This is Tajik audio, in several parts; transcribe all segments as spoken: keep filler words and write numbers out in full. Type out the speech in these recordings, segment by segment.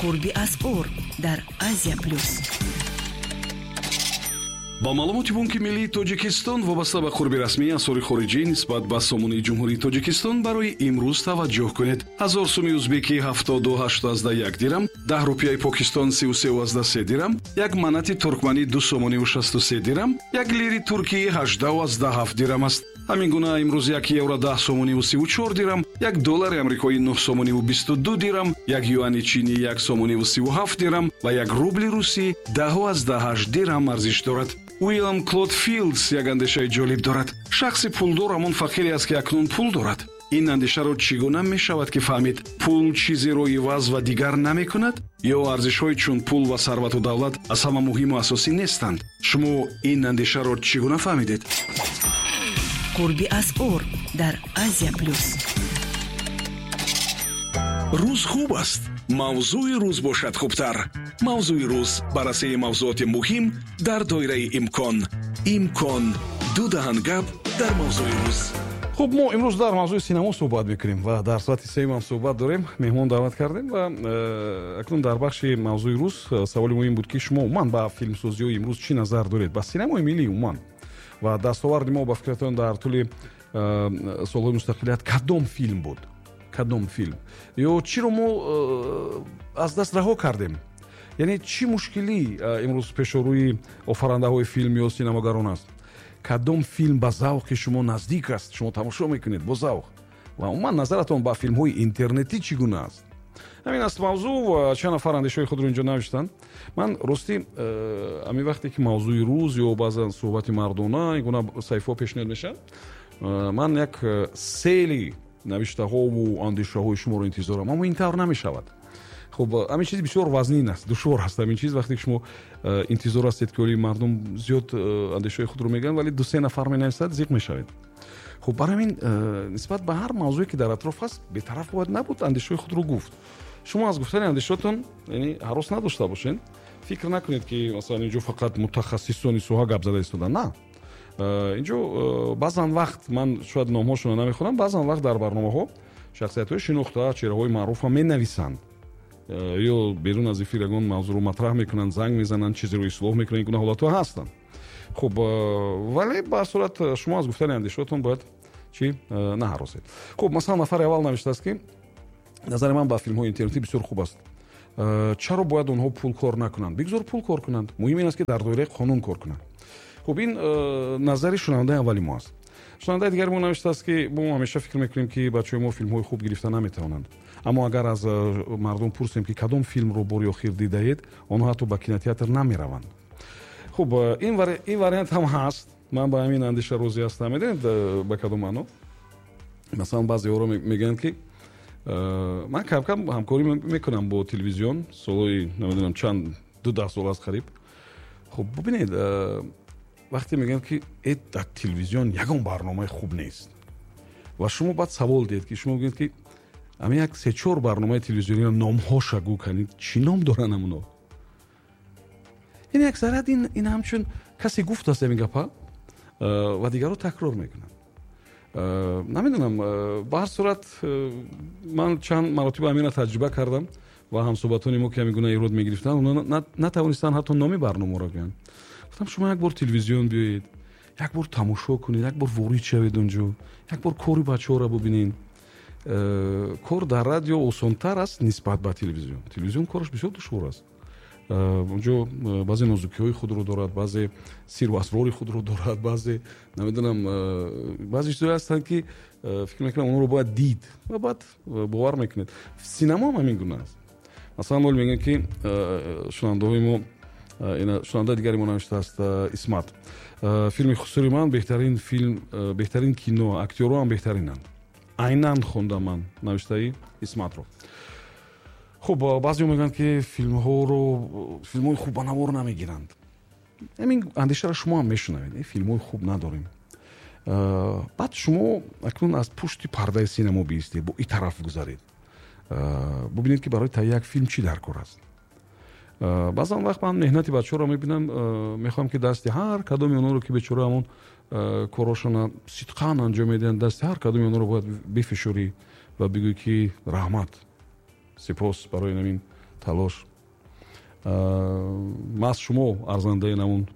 Қурби асъор дар Азия Плюс. Ба маълумоти Бонки Миллии Тоҷикистон, вобаста ба қурби расмии асъори хориҷӣ нисбат ба сомонии Ҷумҳурии Тоҷикистон барои имрӯз таваҷҷӯҳ кунед. Ҳазор суми узбекӣ ҳафтоду ҳаштазда як дирам, даҳ рупияи Покистон сию сеазда се дирам, як манати туркманӣ ду сомониву шасту се дирам, як лири туркии ҳаждаҳу азда ҳафт дирам аст. Ҳамин гуна имрӯз як евро даҳ сомониву сиву чор дирам, як доллари амрикоӣ нӯҳ сомониву бисту ду дирам, як юани чинӣ як сомониву сиву ҳафт дирам ва як рубли русӣ даҳу азда ҳашт дирам арзиш дорад. Уилям Клод Филдс як андешаи ҷолиб дорад. Шахси пулдор ҳамон фақире аст, ки акнун пул дорад. Ин андешаро чӣ гуна мешавад ки фаҳмид? Пул чизеро иваз ва дигар намекунад? Ё арзишҳои чун пул ва сарвату давлат аз ҳама муҳиму асосӣ нестанд? Шумо ин андешаро чӣ гуна фаҳмидед? Қурби асъор дар Азия Плюс. Рӯз хуб аст, мавзӯи рӯз бошад хубтар. Мавзӯи рӯз: баррасии мавзӯоти муҳим дар доираи имкон. Имкон: ду даҳан гап дар мавзӯи рӯз. Хуб, мо имрӯз дар мавзӯи синамо суҳбат мекунем ва дар соати сеюм ҳам суҳбат дорем. Меҳмон даъват кардем ва э, акнун дар бахши мавзӯи рӯз э, саволи муҳим буд, ки шумо умуман ба филмсозиҳои имрӯз чӣ назар доред, ба синамои миллӣ умуман, ва дастоварди мо ба фикратон дар тӯли э, солҳои мустақилият кадом филм буд, кадом филм ё чиро мо аз даст раҳо кардем, яъне чӣ мушкилӣ имрӯз пешорӯи офарандаҳои филм ё синамогарон аст, кадом филм ба завқи шумо наздик аст, шумо тамошо мекунед бо завқ, ва умуман назаратон ба филмҳои интернетӣ чӣ гуна аст. Ҳамин аст мавзӯъ ва чанд нафар андешаҳои худро инҷо навиштанд. Ман ростӣ, ҳамин вақте ки мавзӯи рӯз ё баъзан суҳбати мардона ин гуна саҳифаҳо пешниҳод мешавад, ман як сели навиштаҳову андешаҳои шуморо интизорам, аммо ин тавр намешавад. Хуб, ҳамин чиз бисёр вазнин аст, душвор аст. Ҳамин чиз вақте ки шумо интизор ҳастед, ки оли мардум зиёд андешаҳои худро мегӯянд, вале ду се нафар менависад, зиқ мешавед. Хуб, барои ҳамин нисбат ба ҳар мавзӯе ки дар атроф аст, бетараф бояд набуд, андешаҳои худро гуфт. Шумо аз гуфтани андешаҳотон, яъне, ҳарос надошта бошед. Фикр накунед, ки масалан инҷо фақат мутахассисони соҳа гап зада истоданд. На, инҷо баъзан вақт ман шояд номҳошонро намехонам, баъзан вақт дар барномаҳо шахсиятҳои шинохта, чеҳраҳои маъруф ҳам менависанд ё берун аз эфир ягон мавзӯъро матраҳ мекунанд, занг мезананд, чизеро ислоҳ мекунанд. Ин гуна ҳолатҳо ҳастанд. Хуб, вале ба ҳар сурат шумо аз гуфтани андешаҳотон бояд чӣ наҳаросед. Хуб, масалан, нафари аввал навиштааст, ки назари ман ба филмҳои интернетӣ бисёр хуб аст. Чаро бояд онҳо пул кор накунанд? Бигзор пул кор кунанд, муҳим ин аст, ки дар доираи қонун кор кунанд. Хуб, ин назари шунавандаи аввали мо аст. Шунавандаи дигари мо навиштааст, ки мо ҳамеша фикр мекунем, ки бачаҳои мо филмҳои хуб гирифта наметавонанд, аммо агар аз мардум пурсем, ки кадом филмро бори охир дидаед, онҳо ҳатто ба кинотеатр намераванд. Хуб, ин вариант ҳам ҳаст. Ман ба ҳамин андеша розӣ ҳастам. Медонед, ба кадом маъно? Масалан, баъзеҳоро мегӯянд, ки ман камкам ҳамкорӣ мекунам бо телевизион, солҳои намедонам чанд, ду даҳ сол аст қариб. Хуб, бубинед, вақте мегӯянд, ки э дар телевизион ягон барномаи хуб нест, ва шумо баъд савол диҳед, ки шумо мегӯед, ки ҳамин як се чор барномаи телевизиониро номҳоша гӯ кунед, чӣ ном доранд ҳамоно? Ин аксарият ин ин ҳамчун касе гуфтааст ҳамин гапа ва дигарро такрор мекунанд. Намедонам, ба ҳар сурат ман чанд маротиба ҳаминро таҷриба кардам ва ҳамсӯҳбатони мо, ки ҳамин гуна эрод мегирифтанд, онҳо натавонистанд ҳатто номи барномаро гӯянд. Гуфтам, шумо як бор телевизион биёед, як бор тамошо кунед, як бор ворид шавед онҷо, як бор кори бачаҳоро бубинед. Кор дар радио осонтар аст нисбат ба телевизион. Телевизион кораш бисёр душвор аст. Онҷо баъзе нозукиҳои худро дорад, баъзе сиру асрори худро дорад, баъзе, намедонам, баъзе чизҳое ҳастанд, ки фикр мекунам, онҳоро бояд дид ва баъд бовар мекунед. Синамо ҳам ҳамин гуна аст. Масалан, ҳол мегӯянд, ки шунавандаҳои мо, шунавандаи дигари мо навиштааст, Исмат: филми «Хусури ман» беҳтарин филм, беҳтарин кино, актёрҳо ҳам беҳтаринанд. Айнан хондам ман навиштаи Исматро. Хуб, баъзеҳо мегӯянд, ки филмҳоро, филмҳои хуб ба навор намегиранд. Ҳамин андешаро шумо ҳам мешунавед: филмҳои хуб надорем. Баъд шумо акнун аз пушти пардаи синамо биистед, бо ин тараф гузаред, бубинед, ки барои таҳияи як филм чӣ дар кор аст. Баъзан вақт ман меҳнати бачаҳоро мебинам, мехоҳам, ки дасти ҳар кадоми онҳоро, ки бечора ҳамон корҳошона сидқан анҷом медиҳанд, дасти ҳар кадоми онҳоро бояд бифишорӣ ва бигӯӣ, ки раҳмат, сипос барои ҳамин Талош. Маҳз шумо арзандаи намун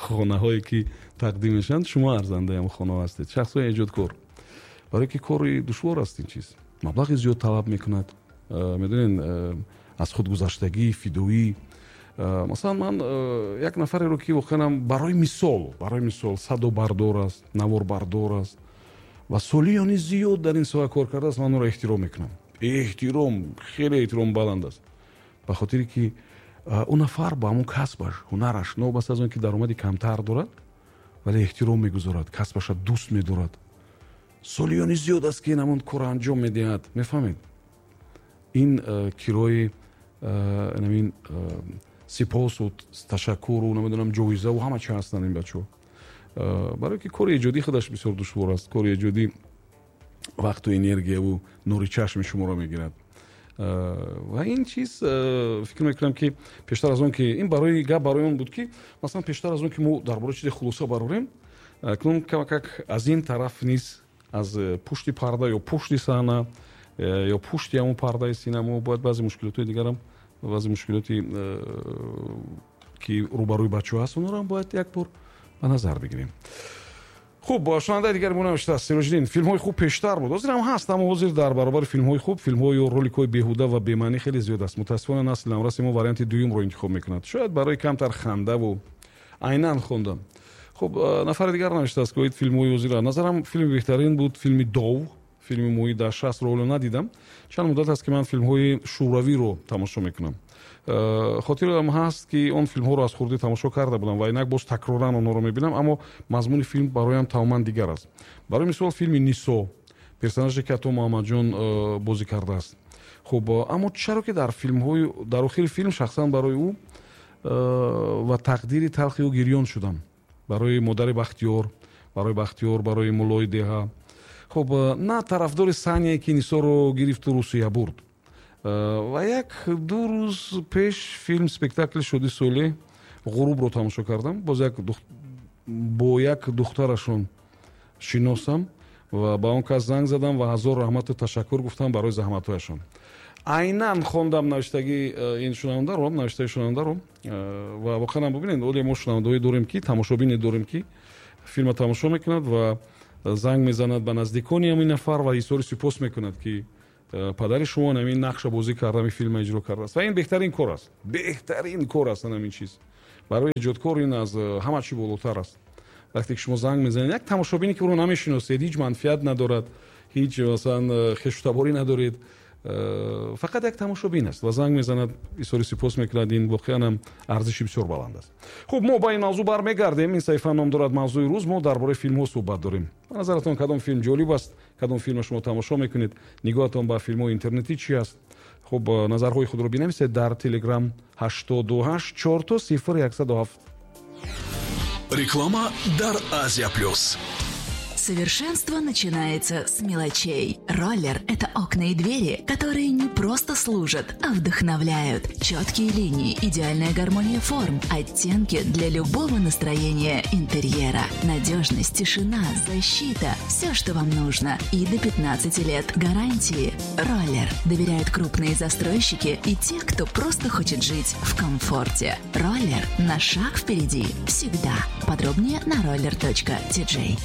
хонаҳое ки тақдим мешаванд, шумо арзандаи ҳамон хонаҳо ҳастед, шахсҳои эҷодкор. Барои ки кори душвор аст ин чиз, маблағи зиёд талаб мекунад, медонед, аз худгузаштагӣ, фидоӣ. Масалан, ман як нафареро ки воқеан барои мисол, барои мисол садобардор аст, наворбардор аст ва солиёни зиёд дар ин соҳа кор кардааст, ман ӯро эҳтиром мекунам. Эҳтиром, хеле эҳтиром баланд аст, ба хотире ки ӯ нафар ба ҳамон касбаш, ҳунараш, новобаста аз он ки даромади камтар дорад, вале эҳтиром мегузорад, касбаша дӯст медорад. Солиёни зиёд аст ки ин ҳамон корро анҷом медиҳад. Мефаҳмед? Ин кирои ин сипосу ташаккуру намедонам ҷоизаву ҳама чи ҳастанд ин бачаҳо. Барои ки кори эҷодӣ худаш бисёр душвор аст. Кори эҷодӣ вақту энергияву нури чашми шуморо мегирад. Ва ин чиз фикр мекунам ки пештар аз он ки ин барои гап барои он буд ки масалан пештар аз он ки мо дар бораи чизе хулоса барорем, акнун камакак аз ин тараф низ, аз пушти парда ё пушти саҳна ё пушти ҳамон пардаи синамо бояд баъзе мушкилотҳои дигарам, баъзе мушкилоти ки рӯбарӯи бачаҳо ҳаст, онҳоро ҳам бояд як бор ба назар бигирем. Хуб, шунавандаи дигари мо навиштааст: Сироҷиддин, филмҳои хуб пештар буд, ҳозир ҳам ҳаст, аммо ҳозир дар баробари филмҳои хуб филмҳо ё роликҳои беҳуда ва бемаънӣ хеле зиёд аст. Мутаассифона насли навраси мо варианти дуюмро интихоб мекунад, шояд барои камтар хандаву айнан хондам. Хуб, нафари дигар навиштааст ки оид филмҳои ҳозира назарам филми беҳтарин буд филми Дов, филми моҳи дар шастро ҳоло надидам. Чанд муддат аст ки ман филмҳои шӯравиро тамошо мекунам. Хотирам ҳаст ки он филмҳоро аз хурдӣ тамошо карда будам ва инак боз такроран онҳоро мебинам, аммо мазмуни филм бароям тамоман дигар аст. Барои мисол филми Нисо, персонаже ки Ато Муҳаммадҷон бозӣ кардааст. Хуб, аммо чаро ки дар филмҳои дар охири филм шахсан барои ӯ ва тақдири талхи ӯ гирён шудам. Барои модари Бахтиёр, барои Бахтиёр, барои муллои деҳа. Хуб, на тарафдори Сание ки Нисоро гирифту Русия бурд. Ва як ду рӯз пеш филм спектакли Шоди Солеҳ Ғурубро тамошо кардам. Боз як дух... бо як духтарашон шиносам ва ба он кас занг задам ва ҳазор раҳмату ташаккур гуфтам барои заҳматҳояшон. Айнан хондам навиштагии ин шунавандаро, навиштаи шунавандаро, ва воқеан бибинед, оле мо шунавандаҳое дорем ки тамошобине дорем ки филмро тамошо мекунад ва занг мезанад ба наздикони ҳамин нафар ва изҳори сипос мекунад ки падари шумо ҳамин нақша бозӣ карда, ҳамин филмро иҷро кардааст. Ва ин беҳтарин кор аст, беҳтарин кор аст ҳамин чиз. Барои эҷодкор ин аз ҳама чӣ болотар аст. Вақте ки шумо занг мезанед як тамошобине ки ӯро намешиносед, ҳеҷ манфиат надорад, ҳеҷ масалан хешутаборӣ надоред, фақат як тамошобин аст ва занг мезанад, изҳори сипос мекунад. Ин воқеан ҳам арзиши бисёр баланд аст. Хуб, мо ба ин мавзӯъ бармегардем. Ин саҳифа ном дорад мавзӯи рӯз. Мо дар бораи филмҳо суҳбат дорем. Ба назаратон кадом филм ҷолиб аст? Кадом филмро шумо тамошо мекунед? Нигоҳатон ба филмҳои интернетӣ чи аст? Хуб, назарҳои худро бинависед дар Телеграм ҳаштоду ҳашт чор сифр яксаду ҳафт. Реклама дар Азия Плюс. Совершенство начинается с мелочей. Роллер – это окна и двери, которые не просто служат, а вдохновляют. Четкие линии, идеальная гармония форм, оттенки для любого настроения интерьера. Надежность, тишина, защита – все, что вам нужно. И до пятнадцати лет гарантии. Роллер доверяют крупные застройщики и те, кто просто хочет жить в комфорте. Роллер на шаг впереди всегда. Подробнее на роллер точка ти джей.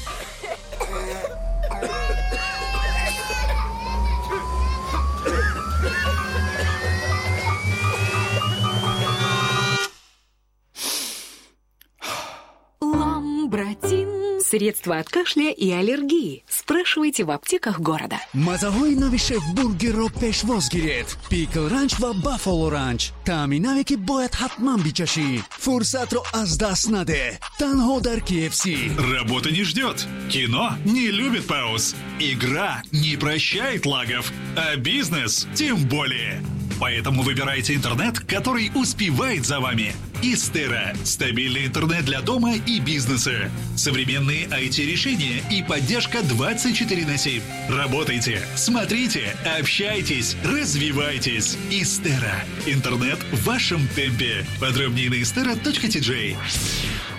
Ламбратин. Средства от кашля и аллергии. Спрашивайте в аптеках города. Мазаҳои нави шеф-бургерро пешвоз гиред. Пикл ранч ва баффало ранч. Таъми наве ки бояд ҳатман бичашӣ. Фурсатро аз даст наде. Танҳо дар кей эф си. Работа не ждет. Кино не любит пауз. Игра не прощает лагов. А бизнес тем более. Поэтому выбирайте интернет, который успевает за вами. Истера – стабильный интернет для дома и бизнеса. Современные ай ти-решения и поддержка двадцать четыре на семь. Работайте, смотрите, общайтесь, развивайтесь. Истера – интернет в вашем темпе. Подробнее на истера точка ти джей.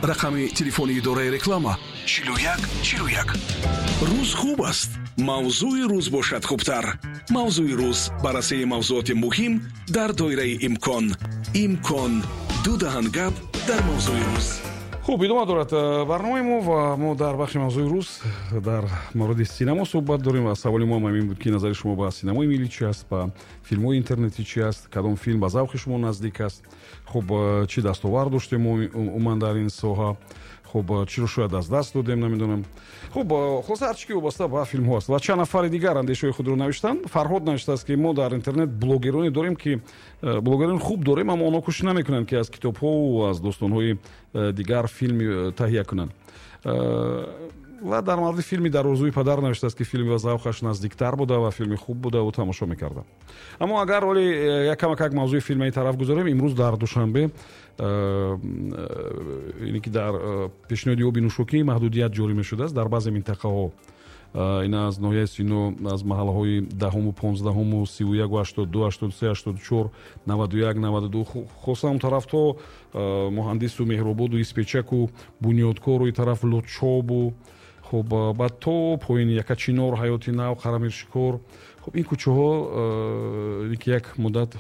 Рақами телефони идораи реклама чилу як чилу як. Рӯз хуб аст, мавзӯи рӯз бошад хубтар. Мавзӯи рӯз, баррасии мавзуоти муҳим дар доираи имкон. Имкон ду даҳан гап дар мавзӯи рӯз. Хуб, идома дорад барномаи мо ва мо дар бахши мавзӯи рӯз дар мавриди синамо суҳбат дорем ва саволи мо ҳам ин буд, ки назари шумо ба синамои миллӣ чи аст, ба филмҳои интернетӣ чи аст, кадом филм ба завқи шумо наздик аст, хуб, чӣ дастовард доштем мо умуман дар ин соҳа, хуб, чиро шояд аз даст додем, намедонам. Хуб, хулоса ҳар чӣ ки вобаста ба филмҳо аст. Ва чанд нафари дигар андешаҳои худро навиштанд. Фарҳод навиштааст, ки мо дар интернет блогероне дорем, ки блогерони хуб дорем, аммо онҳо кӯшиш намекунанд, ки аз китобҳову аз достонҳои дигар филм таҳия кунанд. Ва дар мавриди филми «Дар орзуи падар» навиштааст, ки филми ба завқаш наздиктар буда ва филми хуб буда ӯ тамошо мекарда. Аммо агар оли як камакак мавзӯи филмаи тараф гузорем, имрӯз дар Душанбе, ине ки дар пешниҳоди оби нӯшокӣ маҳдудият ҷорӣ мешудааст дар баъзе минтақаҳо. Ин аз ноҳияи Сино, аз маҳаллаҳои даҳуму понздаҳуму сиву яку ҳаштоду ду, ҳаштоду се, ҳаштоду чор, наваду як, наваду ду, хоса он тараф то Муҳандису Меҳрободу Испечаку Бунёдкору и тараф Лучобу, хуб, баъд то поини Якачинор, Ҳаёти Нав, Қарамиршикор. Хуб, ин кӯчаҳо ки як муддат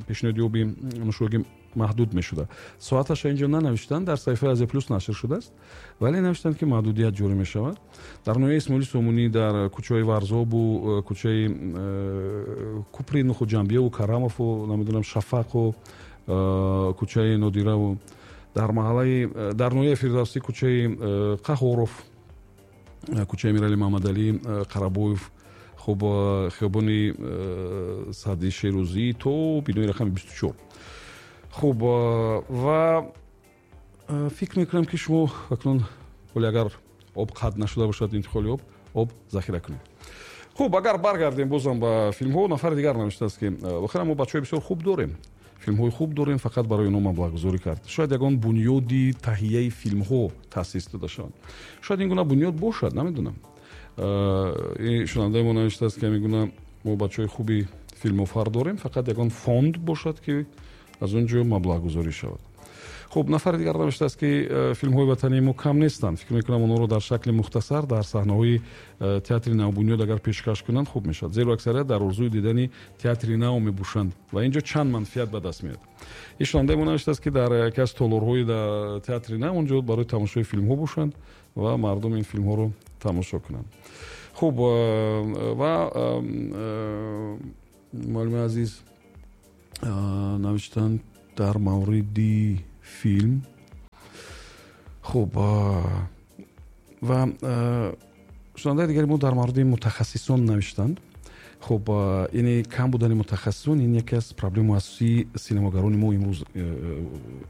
пешниҳоди оби нӯшокӣ маҳдуд мешуда. Соаташа инҷо нанавиштанд, дар саҳифаи Азия Плюс нашр шудааст, вале навиштанд, ки маҳдудият ҷорӣ мешавад. Дар ноҳияи Исмоили Сомонӣ, дар кӯчаҳои Варзобу кӯчаи Купри Нухуҷамбияву Карамову, намедонам, Шафақу кӯчаи Нодираву, дар маҳаллаи дар ноҳияи Фирдавсӣ кӯчаи Қаҳоров, кӯчаи Мирали Маҳмадалӣ Қарабоев, хуб, хиёбони Саъди Шерӯзӣ то бинои рақами бисту чор. Хуб, ва фикр мекунам, ки шумо акнун вале агар об қатъ нашуда бошад, интиқоли об, об захира кунед. Хуб, агар баргардем бозам ба филмҳо, нафари дигар навиштааст, ки охиран мо бачаҳои бисёр хуб дорем, филмҳои хуб дорем, фақат барои онҳо маблағгузорӣ кард. Шояд ягон бунёди таҳияи филмҳо таъсис дода шаванд. Шояд ин гуна бунёд бошад, намедонам. Ин шунавандаи мо навиштааст, ки ҳамин гуна мо бачаҳои хуби филмофар дорем, фақат ягон фонд бошад, ки аз он ҷо маблағгузорӣ шавад. Хуб, нафари дигар навиштааст, ки филмҳои ватании мо кам нестанд. Фикр мекунам, онҳоро дар шакли мухтасар дар саҳнаҳои театри навбунёд агар пешкаш кунанд, хуб мешавад, зеро аксарият дар орзуи дидани театри нав мебошанд ва инҷо чанд манфиат ба даст меояд. Ин шунавандаи мо навиштааст, ки дар яке аз толорҳои театри нав онҷо барои тамошои филмҳо бошанд ва мардум ин филмҳоро тамошо кунанд. Хуб, ва муаллими азиз навиштанд дар мавриди филм. Хуб, ва шунавандаи дигари мо дар мавриди мутахассисон навиштанд. Хуб, яъне кам будани мутахассисон ин яке аз проблемаи асосии синамогарони мо имрӯз,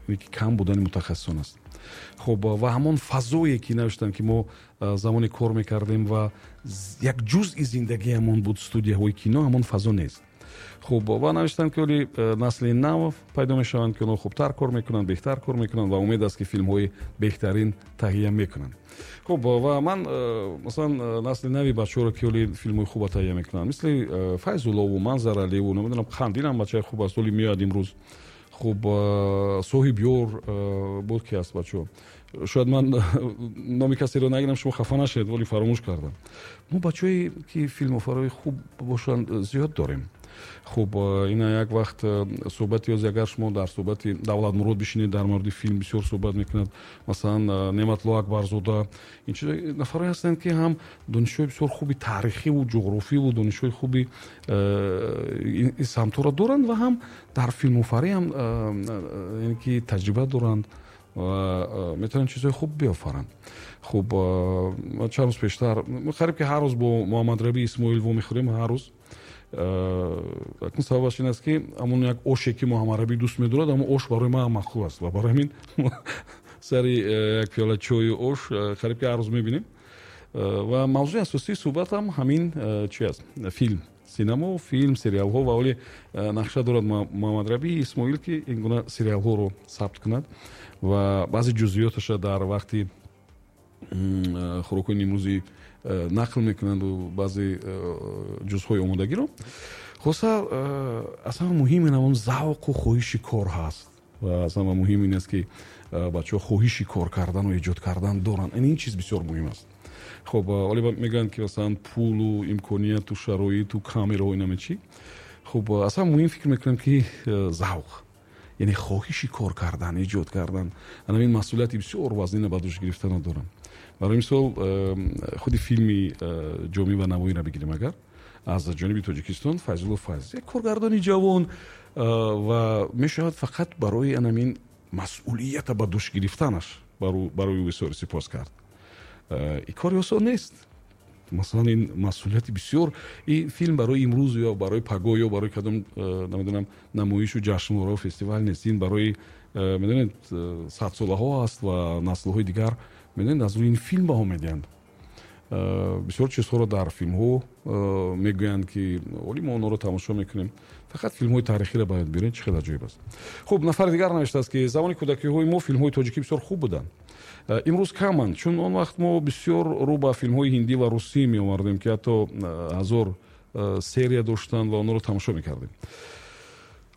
ки кам будани мутахассисон аст. Хуб, ва ҳамон фазое ки навиштанд, ки мо замоне кор мекардем ва як ҷузъи зиндагиамон буд студияҳои кино, ҳамон фазо нест. Хуб, ва навиштанд, ки оли насли нав пайдо мешаванд, ки онҳо хубтар кор мекунанд, беҳтар кор мекунанд ва умед аст, ки филмҳои беҳтарин таҳия мекунанд. Хуб, ва ман масалан насли нави бачаҳоро, ки оли филмҳои хуба таҳия мекунанд, мисли Файзуллову, Манзаралиеву, намедонам, Қандилам бачаи хуб аст, оли меояд имрӯз. Хуб, Соҳибёр буд, ки аст бачаҳо. Шояд ман номи касеро нагирам, шумо хафа нашавед, вале фаромӯш кардам. Мо бачаҳое ки филмофарои хуб бошанд зиёд дорем. Хуб, ина як вақт суҳбати ёзи, агар шумо дар суҳбати Давлатмурод бишинед, дар мавриди филм бисёр суҳбат мекунад, масалан Неъматлло Акбарзода, ин чиз нафарое ҳастанд, ки ҳам донишҳои бисёр хуби таърихиву ҷуғрофиву донишҳои хуби ин самтҳоро доранд ва ҳам дар филмофарӣ ҳам яъне ки таҷриба доранд ва метавонанд чизҳои хуб биёфаранд. Хуб, чанд рӯз пештар қариб ки ҳар рӯз бо Муҳаммадрабӣ Исмоил вомехӯрем, ҳар рӯз. Акнун сабабаш ин аст, ки ҳамон як оше, ки Муҳаммадрабӣ дӯст медорад, ҳамон ош барои ман маъқул аст ва барои ҳамин сари як пиёла чою ош қариб ки ҳар рӯз мебинем. Ва мавзӯи асосии суҳбатам ҳамин чи аст? Филм, синамо, филм, сериалҳо. Ва оли нақша дорад Муҳаммадрабӣ Исмоил, ки ин гуна сериалҳоро сабт кунад ва баъзе ҷузъиёташа дар вақти хӯрокҳои нимрӯзӣ нақл мекунанду баъзе ҷузъҳои омодагиро. Хулоса, аз ҳама муҳим ин ҳамон завқу хоҳиши кор ҳаст. Ва аз ҳама муҳим ин аст, ки бачаҳо хоҳиши кор кардану эҷод кардан доранд. Ин чиз бисёр муҳим аст. Хуб, вале мегӯянд, ки масалан пулу имконияту шароиту камераҳо инаме чӣ. Хуб, аз ҳама муҳим фикр мекунам, ки завқ, яъне хоҳиши кор кардан, эҷод кардан, ана ин масъулияти бисёр вазнина ба дӯш гирифтана дорам. Барои мисол, худи филми Ҷомӣ ва Навоиро бигирем, агар аз ҷониби Тоҷикистон Файзулло Файз, як коргардони ҷавон, ва мешавад фақат барои анамин масъулията ба дӯш гирифтанаш барои ӯ бисёр сипос кард. Ин кори осон нест. Масалан, ин масъулияти бисёр, ин филм барои имрӯз ё барои пагоҳ ё барои кадом, намедонам, намоишу ҷашнворау фестивал нест. Ин барои, медонед, садсолаҳо аст ва наслҳои дигар, медонед, аз рӯи ин филм баҳо медиҳанд. Бисёр чизҳоро дар филмҳо мегӯянд, ки оли мо онҳоро тамошо мекунем. Фақат филмҳои таърихиро бояд биред, чӣ хеле аҷоиб аст. Хуб, нафари дигар навиштааст, ки замони кӯдакиҳои мо филмҳои тоҷикӣ бисёр хуб буданд. Имрӯз каманд, чун он вақт мо бисёр рӯ ба филмҳои ҳиндӣ ва русӣ меовардем, ки ҳатто ҳазор серия доштанд ва онҳоро тамошо мекардем.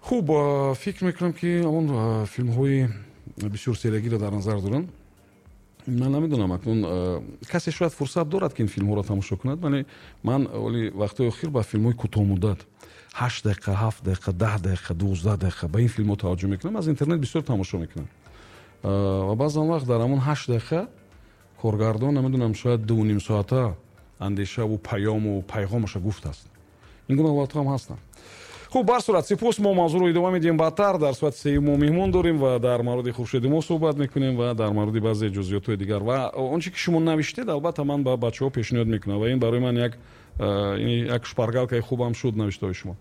Хуб, фикр мекунам, ки он филмҳои бисёр сериягиро дар назар доранд. Ман намедонам, акнун касе шояд фурсат дорад, ки ин филмҳоро тамошо кунад, вале ман оли вақтҳои охир ба филмҳои кӯтоҳмуддат, ҳашт дақиқа, ҳафт дақиқа, даҳ дақиқа, дувоздаҳ дақиқа ба ин филмҳо таваҷҷӯҳ мекунам, аз интернет бисёр тамошо мекунам. Ва баъзан вақт дар ҳамон ҳашт дақиқа коргардон, намедонам, шояд ду ним соата андешаву паёму пайғомаша гуфтааст. Ин гуна ҳолатҳо ҳам ҳастанд. Хуб, бар сурат, сипос. Мо мавзӯъро идома медиҳем баъдтар. Дар соати сеюм мо меҳмон дорем ва дар мавриди Хуршеди мо суҳбат мекунем ва дар мавриди баъзе ҷузъиётҳои дигар. Ва он чи ки шумо навиштед, албатта ман ба бачаҳо пешниҳод мекунам ва ин барои ман як як шпаргалкаи хубам шуд навиштаҳои шумо.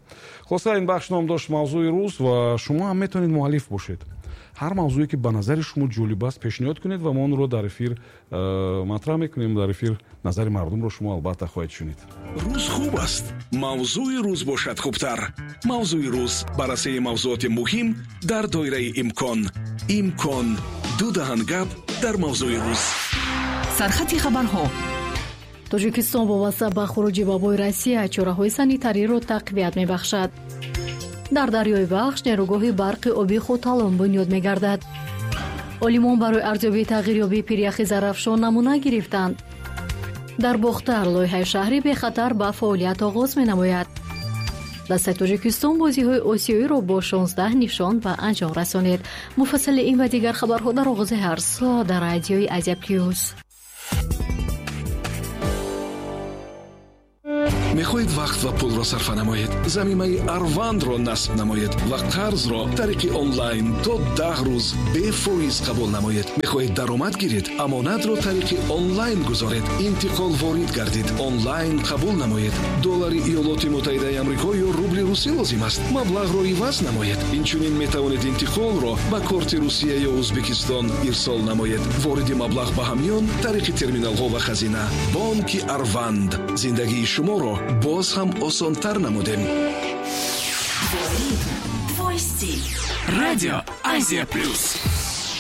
Хулоса, ин бахш ном дошт мавзӯи рӯз ва шумо ҳам метавонед муаллиф бошед. Ҳар мавзӯе ки ба назари шумо ҷолиб аст, пешниҳод кунед ва мо онро дар эфир матраҳ мекунем. Дар эфир назари мардумро шумо албатта хоҳед шунид. Рӯз хуб аст, мавзӯи рӯз бошад хубтар. Мавзӯи рӯз, баррасии мавзӯоти муҳим дар доираи имкон. Имкон ду даҳан гап дар мавзӯи рӯз. Сархати хабарҳо. Тоҷикистон вобаста ба хуруҷи вабои Россия чораҳои санитариро тақвият мебахшад. Дар дарёи Вахш нерӯгоҳи барқи оби Хоталон бунёд мегардад. Олимон барои арзёбии тағйирёбии пиряхи Зарафшон намуна гирифтанд. Дар Бохтар лоиҳаи шаҳри бехатар ба фаъолият оғоз менамояд. Дастаи Тоҷикистон бозиҳои осиёиро бо шонздаҳ нишон ба анҷом расонид. Муфассали ин ва дигар хабарҳо дар оғози ҳар соат дар радиои Азия Плюс. Мехоҳед вақт ва пулро сарфа намоед? Замимаи Арвандро насб намоед ва қарзро тариқи онлайн то даҳ рӯз бефоиз қабул намоед. Мехоҳед даромад гиред? Амонатро тариқи онлайн гузоред. Интиқол ворид гардид. Онлайн қабул намоед. Доллари Иёлоти Муттаҳидаи Амрико ё рубли русӣ лозим аст. Маблағро иваз намоед. Инчунин метавонед интиқолро ба корти Русия ё Ӯзбекистон ирсол намоед. Вориди маблағ ба ҳамён тариқи терминалҳо ва хазина. Бонки Арванд. Зиндагии шуморо боз ҳам осонтар намудем. Твой стиль. Радио Азия Плюс.